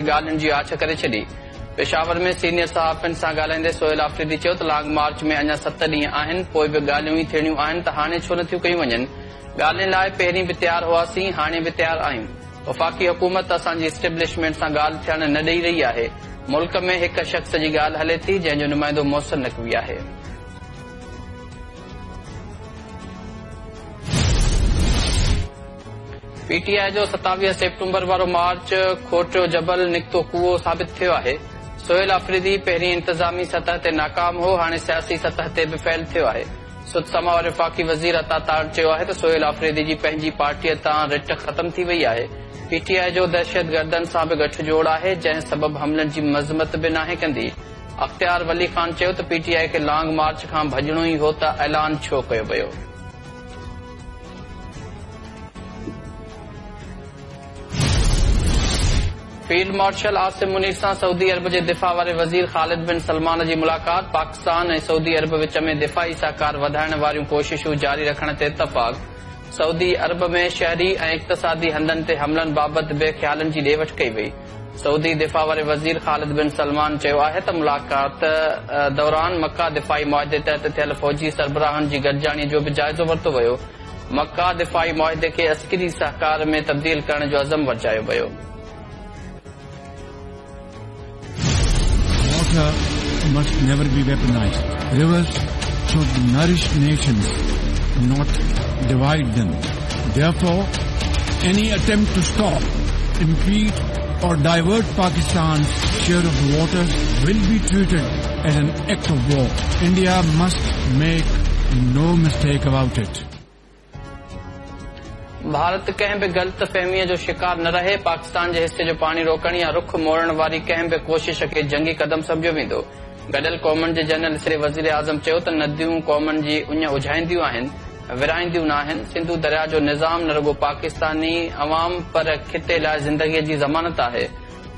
ڳالهين جي آڇ ڪري ڇڏي. پشاور ۾ سينيئر صحافين سان ڳالهائيندي سهيل آفريدي چيو ته لانگ مارچ ۾ اڃا ست ڏينهن آهن، پوء به ڳالهيون ئي ٿيڻيون آهن ته هاڻي ڇو نٿيون ڪيون وڃن؟ ڳالهين لاء پهرين به تيار هئاسين، هاڻي به تيار آهيون. وفاقي حڪومت اسان جي اسٽيبلشمينٽ سان ڳالهه ٿيڻ نه ڏئي رهي آهي. ملڪ ۾ هڪ شخص جي ڳالهه هلي ٿي، جنهن جو نمائندو محسن نقوي آهي. پي ٽي آء جو 27 سيپٽمبر وارو مارچ کوٽيو جبل نڪتو ڪوئو ثابت ٿيو آهي. سهيل آفريدي پهرين انتظامي سطح تي ناڪام هو، هاڻي سياسي سطح تي به فيل ٿيو آهي. سڌ سماء واري وفاقي وزير عطا تارڙ چيو آهي ته سهيل آفريدي جي پنهنجي پارٽيء تان رٽ ختم ٿي وئي آهي. پي ٽي آء جو دهشتگردن سان به ڳٺ جوڙ آهي، جنهن سبب حملن جي مذمت به ناهي ڪندي. اختيار ولي خان چيو ته پي ٽي آء کي لانگ مارچ کان ڀڄڻو ئي هو ته اعلان ڇو ڪيو ويو؟ فيلڊ مارشل عاصم منير سان سعودي عرب جي دفاع واري وزير خالد بن سلمان جي ملاقات، پاڪستان ۽ سعودي عرب وچ ۾ دفاعي سهڪار وڌائڻ واريون ڪوششون جاري رکڻ تي اتفاق، سعودي عرب ۾ شهري ۽ اقتصادي هنڌن تي حملن بابت به خيالن جي ڏي وٺ ڪئي وئي. سعودي دفاع واري وزير خالد بن سلمان چيو آهي ته ملاقات دوران مڪه دفاعي معاهدي تحت ٿيل فوجي سربراهن جي گڏجاڻي جو به جائزو ورتو ويو، مڪه دفاعي معاهدي کي عسڪري سهڪار ۾ تبديل ڪرڻ جو عزم ورجايو ويو. Water must never be weaponized. Rivers should nourish nations, not divide them. Therefore, any attempt to stop, impede or divert Pakistan's share of the waters will be treated as an act of war. India must make no mistake about it. Bharat ڪنهن به غلط فهميء جو شڪار نه رهي، پاڪستان جي حصي جو پاڻي روڪڻ يا رخ موڙڻ واري ڪنهن به ڪوشش کي جنگي قدم سمجهيو ويندو. گڏيل قومن جي جنرل اسيمبلي وزيراعظم چيو ته نديون قومن جي اڃ اجهائينديون آهن، ورهائينديون ناهن، سنڌو درياء جو نظام نه رڳو پاڪستاني عوام پر خطي لاء زندگيء جي ضمانت آهي.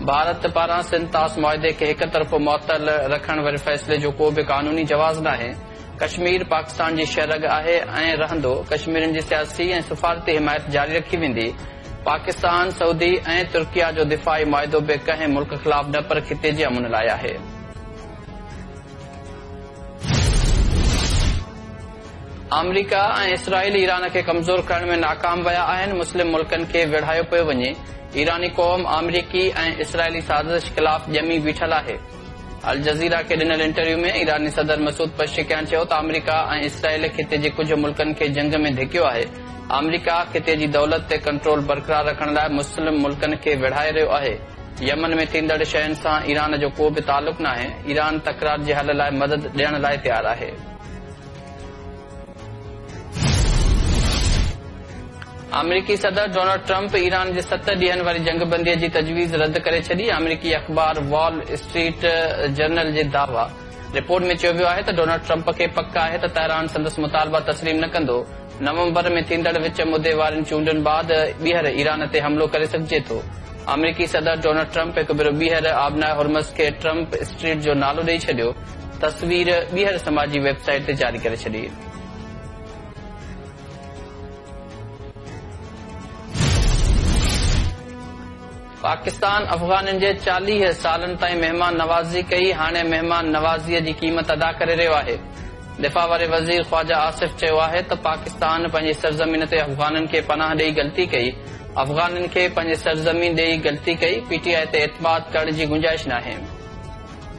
ڀارت پاران سنڌ طاس معاهدي کي هڪ طرفو معطل رکڻ واري فيصلي جو ڪو به قانوني جواز ناهي. ڪشمير پاڪستان جي شهه رڳ آهي ۽ رهندو، ڪشميرين جي سياسي ۽ سفارتي حمايت جاري رکي ويندي، پاڪستان، سعودي ۽ ترڪيه جو دفاعي معاهدو به ڪنهن ملڪ خلاف نه پر خطي جي امن لاء آهي. آمريڪا ۽ اسرائيل ايران کي ڪمزور ڪرڻ ۾ ناڪام ويا آهن، مسلم ملڪن کي ويڙهايو پيو وڃي، ايراني قوم آمريڪي ۽ اسرائيلي سازش خلاف ڄمي بيٺل آهي. الجزيره کي ڏنل انٽرويو ۾ ايراني صدر مسعود پزشڪيان چيو ته آمريڪا ۽ اسرائيل خطي جي ڪجهه ملڪن کي جنگ ۾ ڌڪيو آهي، آمريڪا خطي جي دولت تي ڪنٽرول برقرار رکڻ لاء مسلم ملڪن کي وڙهائي رهيو آهي، يمن ۾ ٿيندڙ شين سان ايران جو ڪو به تعلق ناهي، ايران تڪرار جي حل لاء مدد ڏيڻ لاء تيار آهي. آمريڪي صدر ڊونلڊ ٽرمپ ايران جي ست ڏينهن واري جنگبندي جي تجويز رد ڪري ڇڏي، آمريڪي اخبار وال اسٽريٽ جرنل جي دعويٰ رپورٽ ۾ چيو ويو آهي ته ڊونلڊ ٽرمپ کي پڪ آهي ته تهران سندس مطالبا تسليم نه ڪندو، نومبر ۾ ٿيندڙ وچ مدي وارين چونڊن بعد ٻيهر ايران تي حملو ڪري سگهجي ٿو. آمريڪي صدر ڊونلڊ ٽرمپ هڪ ڀيرو ٻيهر آبناء هرمز کي ٽرمپ اسٽريٽ جو نالو ڏئي ڇڏيو، تصوير ٻيهر سماجي ويب سائيٽ تي جاري ڪري ڇڏي. پاڪستان افغانين جي 40 سالن تائين مهمان نوازي ڪئي، هاڻي مهمان نوازيء جي قيمت ادا ڪري رهيو آهي. دفاع واري وزير خواجه آصف چيو آهي ته پاڪستان پنهنجي سرزمين تي افغانين کي پناهه ڏئي غلطي ڪئي، افغانين کي پنهنجي سرزمين ڏئي غلطي ڪئي، پي ٽي آء تي اعتماد ڪرڻ جي گنجائش ناهي.